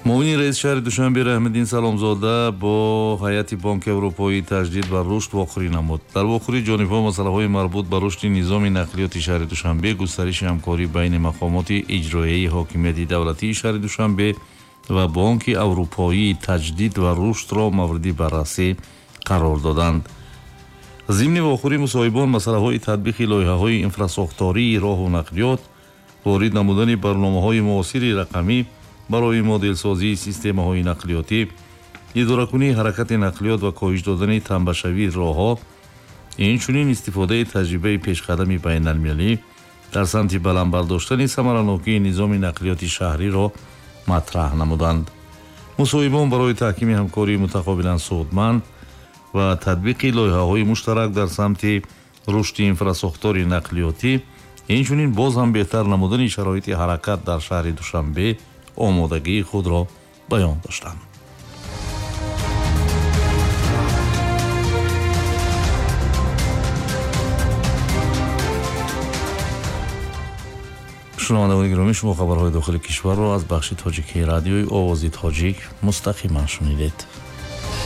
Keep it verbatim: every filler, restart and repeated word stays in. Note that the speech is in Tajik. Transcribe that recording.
Муовини раиси шаҳри Душанбе Раҳмиддин Саломзода бо ҳайати Бонки Аврупоии таҷдид ва рушд вохӯрӣ намуд. Дар вохӯрӣ ҷонибҳо масъалаҳои марбут ба рушди низоми нақлиёти шаҳри Душанбе, густариши ҳамкорӣ байни мақомоти иҷроияи ҳокимияти давлатии шаҳри Душанбе ва Бонки Аврупоии таҷдид ва рушдро мавриди баррасӣ қарор доданд. Зимни вохӯрӣ мусоҳибон масъалаҳои татбиқи лоиҳаҳои инфрасохтории роҳу нақлиёт, ворид намудани барномаҳои муосири рақамӣ барои моделсозии системаҳои нақлиётӣ, идоракунии ҳаракати нақлиёт ва коҳиш додани тамбашавии роҳҳо, инчунин истифодаи таҷрибаи пешқадами байналмилалӣ дар самти баланд бардоштани самаранокии низоми нақлиёти шаҳриро матраҳ намуданд. Мусоҳибон барои таҳкими ҳамкории мутақобилан судманд ва татбиқи лоиҳаҳои муштарак дар самти рушди инфрасохтори нақлиётӣ, инчунин боз ҳам беҳтар намудани шароити ҳаракат дар шаҳри Душанбе омодагии худро баён доштанд. Шунавандагони гиромӣ, шумо хабарҳои дохили кишварро аз бахши тоҷикии радиои Овози Тоҷик мустақиман шунидед.